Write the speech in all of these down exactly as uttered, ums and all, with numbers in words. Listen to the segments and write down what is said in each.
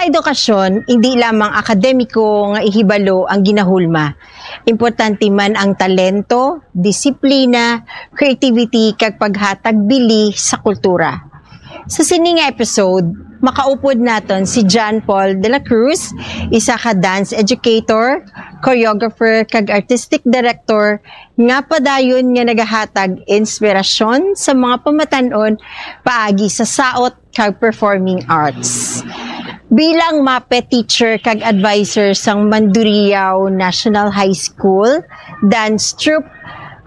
Edukasyon, hindi lamang akademiko nga ihibalo ang ginahulma. Importante man ang talento, disiplina, creativity, kag paghatag bili sa kultura. Sa sini nga episode, makaupod naton si John Paul de la Cruz, isa ka dance educator, choreographer, kag artistic director nga padayon nga nagahatag inspirasyon sa mga pamatan-on paagi sa saot kag performing arts. Bilang MAPEH teacher kag advisor sang Mandurriao National High School Dance Troupe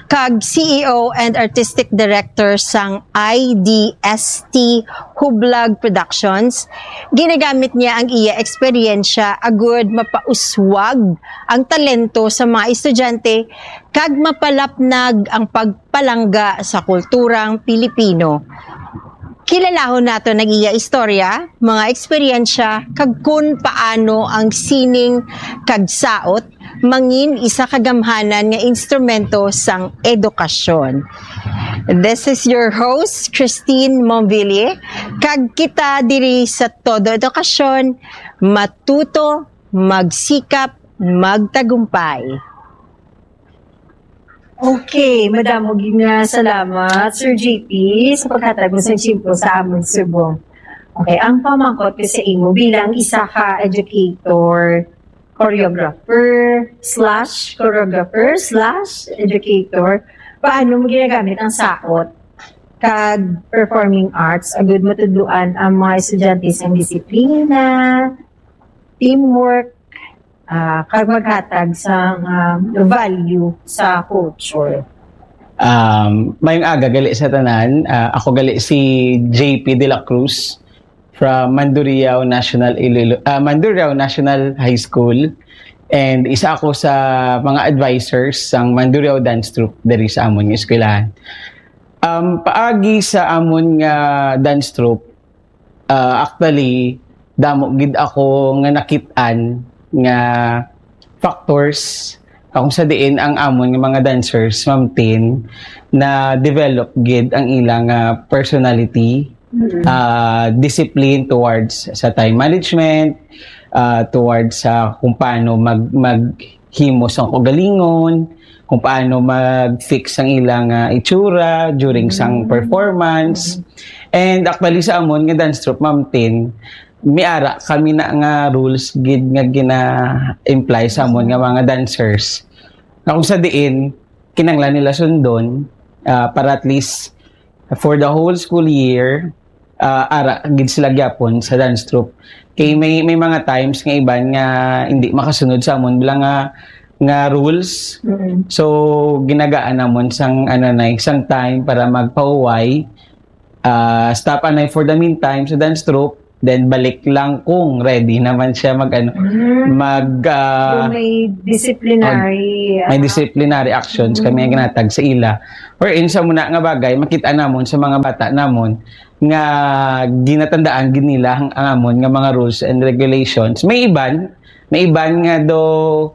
kag C E O and Artistic Director sang I D S T Hublag Productions, ginagamit niya ang iya eksperyensya agud mapauswag ang talento sa mga estudyante kag mapalapnag ang pagpalangga sa kulturang Pilipino. Kilalahon naton ang iya istorya, mga eksperyensya, kag kon paano ang sining kag saot mangin isa ka gamhanan nga instrumento sang edukasyon. This is your host, Christine Monville, kag kita diri sa Todo Edukasyon, matuto, magsikap, magtagumpay. Okay, madamo gid nga salamat, Sir J P, sa paghatag mo sa tiyempo sa amon subong. Okay, ang pamangkot ko sa imo bilang isa ka educator, choreographer, slash choreographer, slash educator, paano mo ginagamit ang saot kag performing arts agud matudloan ang mga estudyante sang disiplina, teamwork, ah, kag maghatag sang, ah, value sa culture. Um, mayong aga gali sa tanan. Ah, ako gali si J P de la Cruz from Mandurriao National Iloilo, ah, Mandurriao National High School, and isa ako sa mga advisors sang Mandurriao Dance Troupe diri sa amon nga eskwelahan. Um, paagi sa amon nga dance troupe, ah, actually, damo gid ako nga nakit-an nga factors kung sa diin ang amon nga mga dancers, Ma'am Tin, na develop gid ang ilang, ah, personality, ah, discipline towards sa time management, ah, towards sa kung paano mag maghimo sang kaugalingon, kung paano mag-fix ang ilang, ah, itsura during sang performance. And actually, sa amon nga dance troupe, Ma'am Tin, may ara kami na nga rules gid nga gina-imply sa amon nga mga dancers. Nga kung sa diin, kinanglan nila sundon, ah, para at least for the whole school year, ah, ara gid sila gyapon sa dance troupe. Kay may, may mga times nga iban nga hindi makasunod sa amon bilang nga, nga rules. So, ginagaan namon sang, ano na, sang time para magpahuway. Ah, stop anay for the meantime sa dance troupe. Then, balik lang kung ready naman siya mag, ano, mag, ah, So, may disciplinary may disciplinary actions kami nga ginatag sa ila. Wherein sa muna nga bagay, makita namon sa mga bata namon nga ginatandaan gid nila ang, ang amon nga mga rules and regulations. May iban, may iban nga do,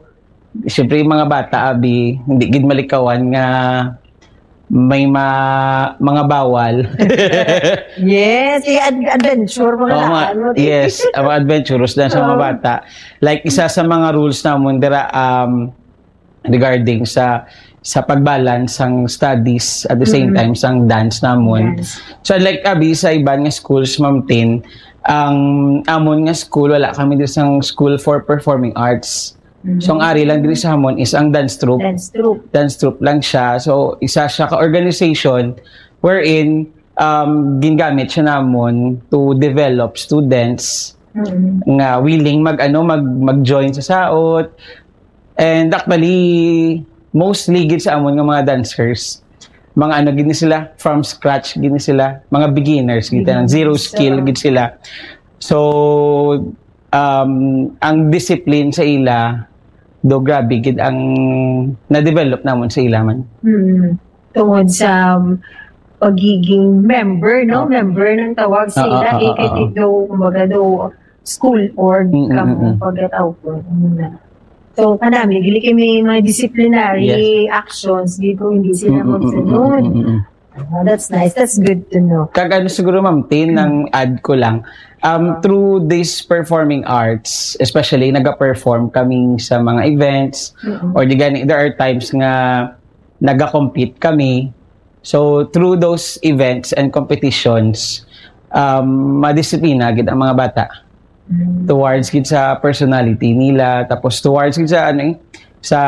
siyempre, yung mga bata, abi, hindi gid malikawan nga may ma, mga bawal. Yes, eh, ad- adventure mga Oo, mga, ano. Yes, ang mga adventurous na sa mga Oo. Bata. Like, isa sa mga rules namon dira, um, regarding sa sa pagbalance sang studies at the same Mm. time sang dance namon. Yes. So, like, abi, sa iban nga schools, Ma'am Tin, ang amon nga school, wala kami diri sang school for performing arts. So, ang ari lang diri sa amon is ang dance troupe. Dance troupe. Dance troupe lang siya. So, isa siya ka organization wherein, um, gingamit siya namon to develop students Mm. nga willing mag, ano, mag, mag-join sa saot. And actually, mostly gid sa amon nga mga dancers, mga ano gid ni sila, from scratch gid ni sila, mga beginners gid, Beginners, zero skill oo. Gid sila. So, um, ang discipline sa ila, do grabe gid ang na-develop namon sa ila man. Hmm. Tungod sa um, pagiging member, no? Oo. Member ng tawag sa Oo, ila, oo, eh, oo, kay oo. daw, kumbaga daw, school org Mm, kamo mm, mm. pagkatawag. Ano na. So, kanami, dili kay may mga disciplinary actions, di ko hindi sila Mm, mm, mm, magsunod. mm, mm, mm. Oh, that's nice. That's good to know. Kag ano siguro, Ma'am Tin, ang add ko lang, um, through this performing arts, especially naga-perform kami sa mga events, Mm-mm. or di gani, there are times nga naga-compete kami. So, through those events and competitions, um, madisiplina gid ang mga bata Mm. towards gid sa personality nila, tapos towards gid sa ano eh, sa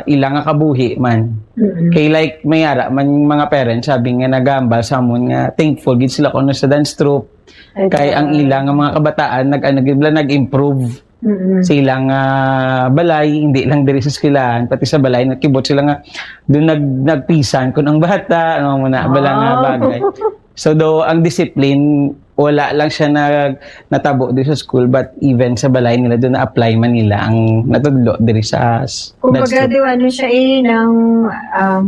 ila nga kabuhi man. Mm-mm. Kay like may ara man mga parents sabi nga nagambal sa amon nga thankful gid sila kuno sa dance troupe, kay ang ila nga mga kabataan nag ano gid bala, nag-improve Mm-mm. sa ilang ah, balay, hindi lang diri sa eskwelahan, pati sa balay nagkibot sila nga doon nag nagpisan kun ang bata, ano mo na bala nga Wow. Bagay. So do ang discipline, wala lang siya nag natabo diri sa school, but even sa balay nila doon na-apply man nila ang natudlo diri sa s- Kumbaga, dance troupe. Di ba, ano siya eh, ng um,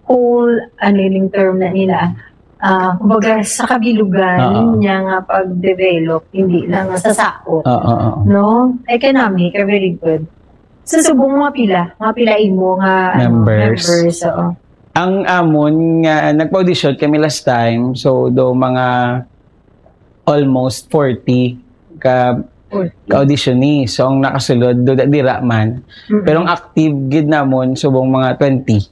whole, ano yung term na nila, ah, kumbaga, sa kabilugan Oo. niya nga pag-develop, hindi lang sa sakop. Oo, oo. No? Economic, very good. Sa subong mga pila, mga pila imo nga ano, Members. members, oo. Ang amon nga nagpa-audition kami last time, so do mga almost forty ka Forty. ka-auditionee. So ang nakasulod do dira man. Mm-mm. Pero ang active gid namon subong mga twenty.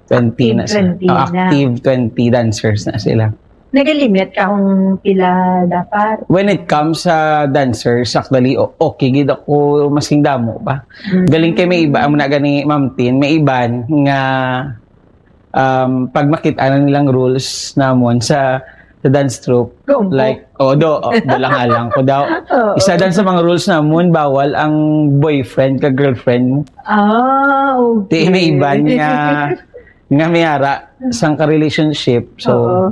Twenty na Active sila. twenty Oh, na. Active twenty dancers na sila. Nagalimit ka kung pila dapat? When it comes sa dancers, actually, o- okay gid ako masking damo pa. Mm. Galing kay may iba, amo na gani, Ma'am Tin, may iban nga um, pag makita na nilang rules namon sa sa dance troupe, Gumpo. Like, oh, do, oh, do lang alang ko daw. Oo. Isa dan sa mga rules namon, bawal ang boyfriend ka girlfriend mo. Ah, okay. Di may iban nga nga may ara sang ka-relationship. So, Oo.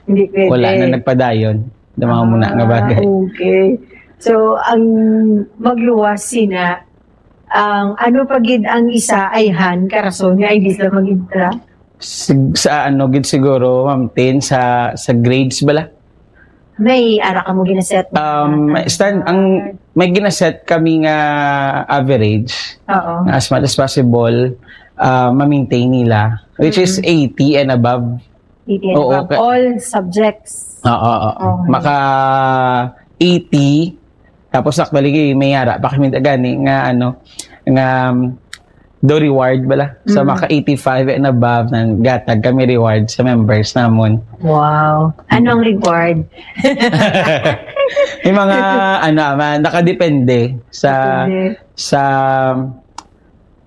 Hindi pwede. Wala na nagpadayon. Damang muna nga bagay. Ah, okay. So, ang magluwas sina, ang ano pa gid ang isa ay han, karason nga ay di sila mag-intra? Sig- sa ano gid siguro, Ma'am Tin, sa, sa grades bala? May ara ka mo ginaset? Um, stand, ang may ginaset kami nga average, Oo. As much as possible, uh, ma-maintain nila, which is Mhm. eighty and above. Eighty Oo, above. ka- All subjects. Oo, oo. Okay. Maka eighty, tapos actually may ara pa kami gani nga ano, nga um, do reward bala. So Mm. maka eighty-five and above, nang gatag kami reward sa members namon. Wow. Anong reward? May mga ano man, nakadepende sa Depende. sa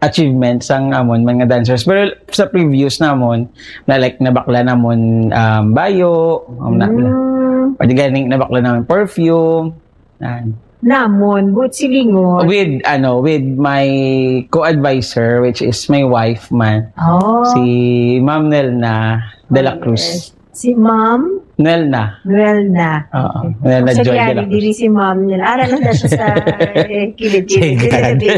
achievements sang amon mga dancers. Pero sa previews namon, na like nabakla namon um, bayo, um, na, Mm. pwede ganing nabakla namon perfume. Yan. Namon, but silingon. With ano, with my co-advisor, which is my wife man, Oh. si Ma'am Nelna de la Oh, Cruz. Yes. Si Ma'am Nelna. Noelna. Oo. Nelna Sa Joy de la Gary, Cruz. Diri si Ma'am Nelna. Ara lang na siya sa eh, kilid-kilid. Sige.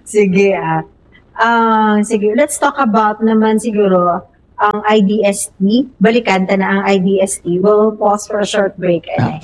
Sige, ah. Ah, sige, let's talk about naman siguro ang I D S T. Balikan ta na ang I D S T. We'll pause for a short break. Anay.